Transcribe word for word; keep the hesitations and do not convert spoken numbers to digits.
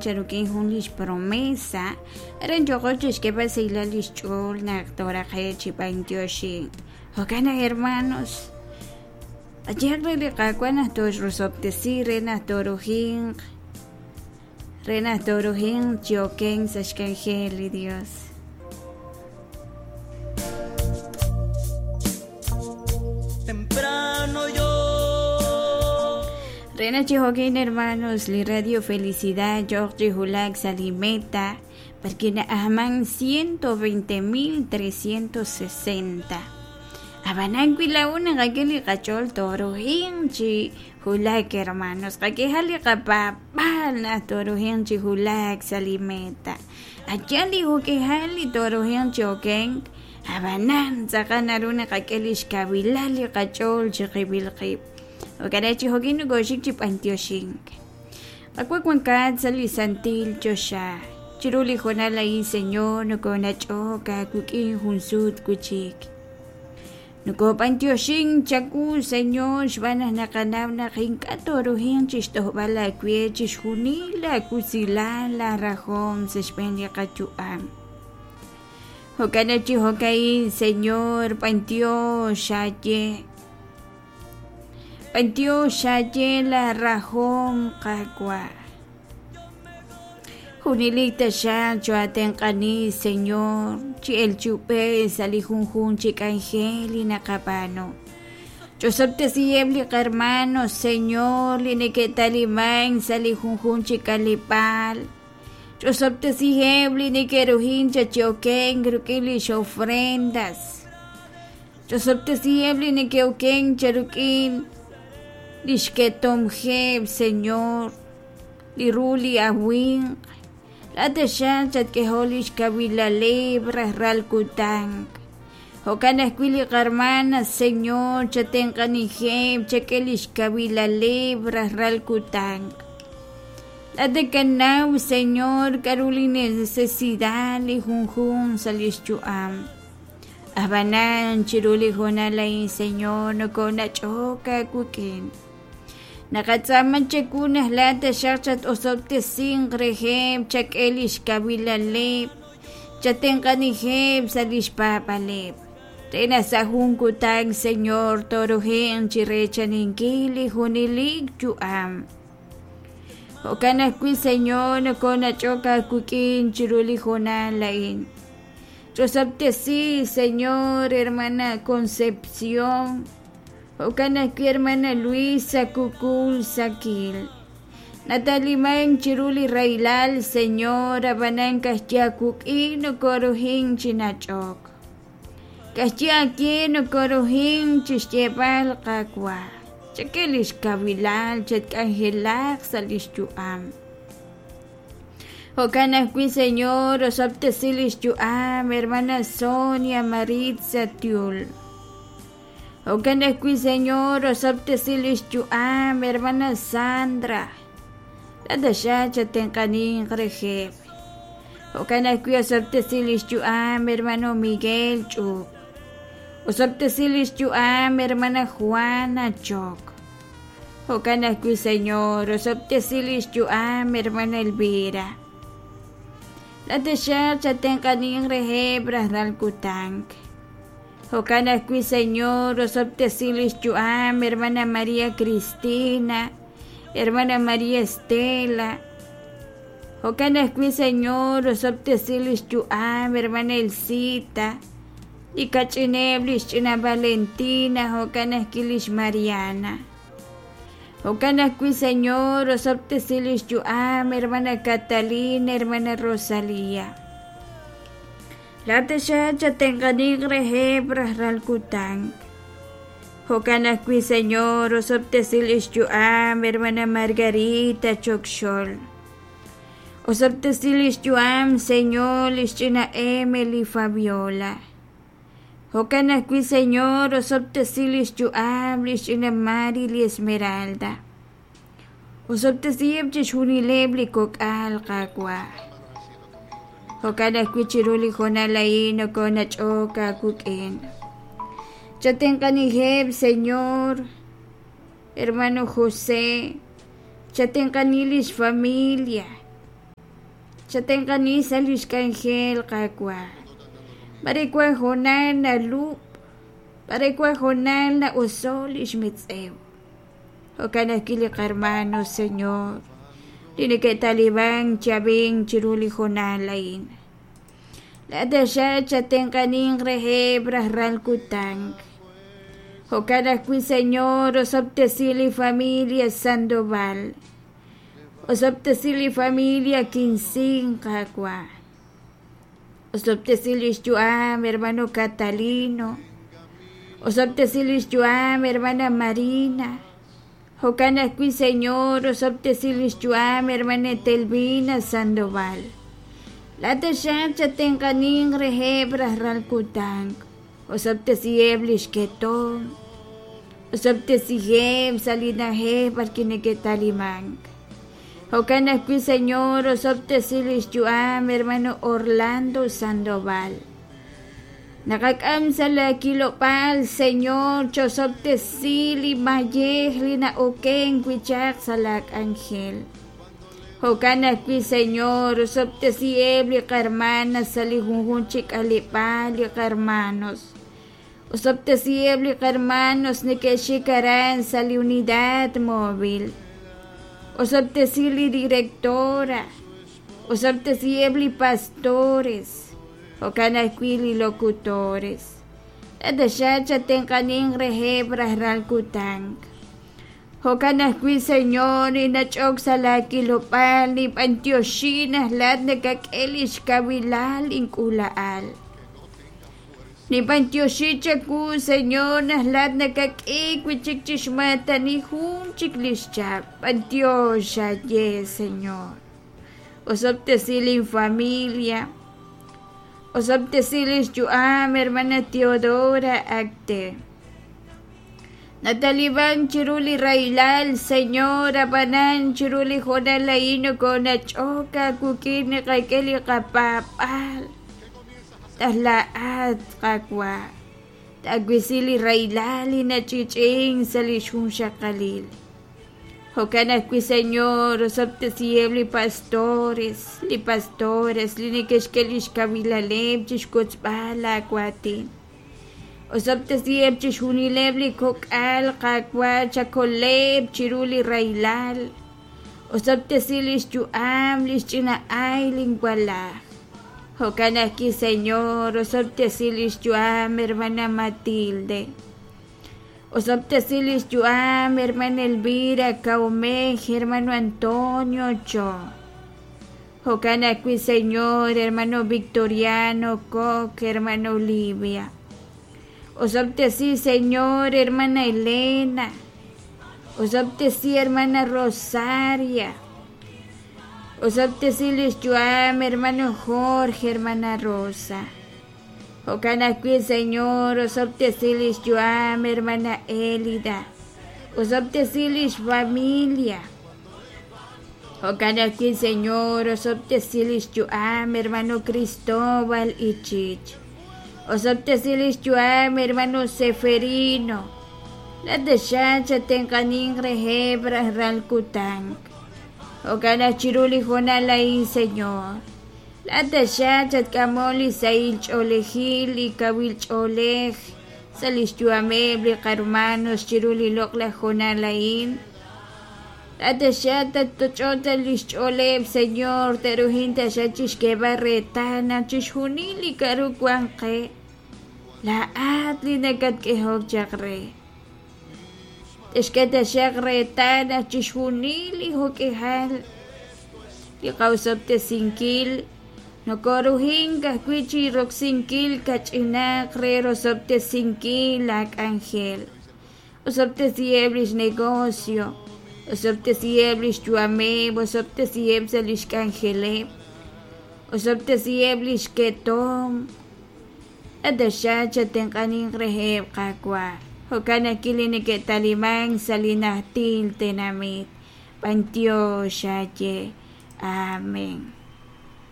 charukin jun lix promesa aran yoqo chixk'eeb'al sahilal lix ch'ool naq tooraqe' chi b'antioxink. Jo'kan naq hermanos, qayehaq re li Qaawa' naq toxrosob'tesi re naq toorujinq re naq toorujinq chi okenk sa' xk'anjel li Dios. Temprano yo Re naq chi jo'kin hermanos, li Radio Felicidad yo'q chi wulak sa' li meta porque na'ajman ciento veinte mil trescientos sesenta. Ab'anan wi laa'un naqak'e li qach'ool toorujinq chi wulak hermanos, qak'eha li qapaab'aal naq toorujinq chi wulak sa' li meta. Ayan li juk'ejal li toorujinq chi okenk, ab'anan tz'aqal naru naqak'e li xkawilal li qach'ool chi qib'il qib'. Jo'kan chi jo'kin nokooxik chi b'antioxink. Qak'e wankat sa' li santil choxa. Chiru li hoonal a'in, Señor, nokoonach'ok aawik'in jun sut wi'chik. Nokob'antioxink chawu, Señor, xb'aan naq naqanaw naq ink'a' toorujinq chixtojb'al aawe chixjunil aawusilal aarajom sa' xb'een li qayu'am. Jo'kan naq chi jo'ka'in, Señor, b'antiox aaye. B'antiox aaye la rajom Qaawa'. Junilik taxaq choatenq'ani, Señor, chi el chub'e sa' li junjun chi k'anjel li naqab'aanu. Chosob'tesiheb' li qarmanos, Señor, li neke'taliman sa' li junjun chi k'aleb'aal. Chosob'tesiheb' li neke'rujin chachiokenk ruk'in lix ofrendas. Chosob'tesiheb' li neke'okenk charuk'in lix ketomjeb', Señor, li ru li awinq. La taxaq chatk'ejo lix kawilaleb' rajral kutan. Jo'kan ajwi' li qarmana, Señor, chatenq'anijeb' chak'e lix kawilaleb' rajral kutan. La tekanaw, Señor, k'aru li necesidad li junjun sa' lix yu'am. Ab'anan chiru li hoonal a'in, Señor, nokoonach'ok aawik'in. Naqatz'aama chawu naq la taxaq chat-osob'tesinq reheb' chak'e lix kawilaleb', chatenq'anijeb' sa' lix paab'aleb'. Re naq sa' jun kutan, Señor, toorujinq chi reechaninkil li junilik yu'am. Jo'kan ajwi', Señor, nokoonach'ok aawik'in chiru li hoonal a'in. Chosob'tesi, Señor, hermana Concepción. Jo'kan ajwi' hermana Luisa Kukul Sakil. Nataliman chiru li rahilal, Señor, ab'anan kajya wuk'in nokoorujin chi nach'ok. Kajya akye nokoorujin chixyeeb'al Qaawa'. Chak'e lix kawilal chatk'anjelaq sa' lix yu'am. Jo'kan ajwi', Señor, osob'tesi lix yu'am, hermana Sonia Maritza Tiul. Jo'kan ajwi', Señor, osob'tesi lix yu'am, hermana Sandra. La taxaq chatenq'aninq reheb'. Jo'kan ajwi' osob'tesi lix yu'am, hermano Miguel Ch'up. Osob'tesi lix yu'am, hermana Juana Chok. Jo'kan ajwi', Señor, osob'tesi lix yu'am, hermana Elvira. La taxaq chatenq'aninq reheb' rajlal kutan. Jo'kan ajwi', Señor, osob'tesi lix yu'am, hermana María Cristina, hermana María Estela. Jo'kan ajwi', Señor, osob'tesi lix yu'am, hermana Elcita, li kach'ineb' lix ch'ina Valentina, jo'kan ajwi' lix Mariana. Jo'kan ajwi', Señor, osob'tesi lix yu'am, hermana Catalina, hermana Rosalía. La taxaq chatenq'aninq reheb' rajlal kutan. Jo'kan ajwi', Señor, osob'tesi lix yu'am, hermana Margarita Chokxol. Osob'tesi lix yu'am, Señor, lix ch'ina Emily Fabiola. Jo'kan ajwi', Señor, osob'tesi lix yu'am, lix ch'ina Mari li Esmeralda. Osob'tesiheb' chixjunileb' li kok'al Qaawa'. Jo'kan ajwi' chiru li hoonal a'in nokoonach'ok aawik'in. Chatenq'anijeb', Señor, hermano José, chatenq'ani lix familia. Chatenq'ani sa' lix k'anjel Qaawa'. Mare wan hoonal nalub', mare wan hoonal na'oso' lix metz'ew. Jo'kan ajwi' li qarmano, Señor, li neke'taliban chi ab'ink chiru li hoonal a'in. Laa'at taxaq chatenq'aninq reheb' rajlal kutan. Jo'kan ajwi', Señor, osob'tesi li familia Sandoval. Osob'tesi li familia Kinsing, Qaawa'. Osob'tesi lix yu'am, hermano Catalino. Osob'tesi lix yu'am, hermana Marina. Jo'kan ajwi', Señor, osob'tesi lix yu'am, hermana Telvina Sandoval. Laa'at taxaq chatenq'aninq reheb' rajlal kutan. Osob'tesiheb' lix ketom. Osob'tesiheb' sa' li na'ajej b'arwi' neke'talimank. Jo'kan ajwi', Señor, osob'tesi lix yu'am, hermano Orlando Sandoval. Naqak'am sa' la kilob'aal, Señor, chosob'tesi li mayej li na'oken wi' chaq sa' la k'anjel. Jo'kan ajwi', Señor, osob'tesiheb' li qarmana sa' li junjunq chi k'aleb'aal li qarmanos. Osob'tesiheb' li qarmanos neke'xik aran sa' li unidad móvil. Osob'tesi li directora. Osob'tesiheb' li pastores. Jo'kan ajwi' li locutores. Laa'at taxaq chatenq'aninq reheb' rajlal kutan. Jo'kan ajwi', Señor, ninach'ok sa' la kilob'aal nib'antioxi naq laa'at nakak'e lix kawilal ink'uula'al. Nib'antioxi chawu, Señor, naq laa'at nakak'e wi' chik chixmaatani jun chik lix chap. B'antiox aye, Señor. Osob'tesi lin familia. Osob'tesi lix yu'am, hermana Teodora Acte. Nataliban chiru li rahilal, Señor, ab'anan chiru li hoonal a'in nokonach'ok aawik'in naqak'e li qapaab'aal. Taj laa'at Qaawa', taawisi li rahilal li nach'ich'in sa' li xjunxaqalil. Jo'kan ajwi', Señor, osob'tesiheb' li pastores, li pastores li neke'xk'e lix kawilaleb' chixwotzb'al aawaatin. Osob'tesiheb' chixjunileb' li kok'al Qaawa' chakoleb' chiru li rahilal. Osob'tesi lix yu'am, lix ch'ina ay linwalaj. Jo'kan ajwi', Señor, osob'tesi lix yu'am, hermana Matilde. Osob'tesi lix yu'am, hermana Elvira Caumej, hermano Antonio Cho. Jo'kan ajwi', Señor, hermano Victoriano Koch, hermano Olivia. Osob'tesi, Señor, hermana Elena. Osob'tesi, hermana Rosaria. Osob'tesi lix yu'am, hermano Jorge, hermana Rosa. Jo'kan ajwi', Señor, osob'tesi lix yu'am, hermana Elida. Osob'tesi lix familia. Jo'kan ajwi', Señor, osob'tesi lix yu'am, hermano Cristóbal Ichich. Osob'tesi lix yu'am, hermano Seferino. Laa'at taxaq chatenq'aninq reheb' rajlal kutan. Jo'kan aj chiru li hoonal a'in, Señor. Laa'at taxaq chatk'amol li sahil ch'oolejil, li kawil ch'oolej sa' lix yu'ameb' li qarmanos chiru li loq'laj hoonal a'in. Laa'at taxaq tattoch'ota lix ch'ooleb', Señor, te'ruhin taxaq chixk'eeb'al reetal naq chixjunil li k'a'ru wan qe, laa'at li nakatk'ehok chaq re. Texk'e taxaq reetal naq chixjunil li jo'k'ihal li qawsob'tesinkil nokoruhink ajwi' chi roksinkil kach'inaq re rosob'tesinkil la k'anjel. Osob'tesiheb' lix negocio, osob'tesiheb' lix yu'ameb', osob'tesiheb' sa' lix k'anjeleb', osob'tesiheb' lix ketom. Ataxaq chatenq'aninq reheb' Qaawa'. Jo'kan ajwi' li neke'taliman sa' li najtil tenamit. B'antiox aye. Amén.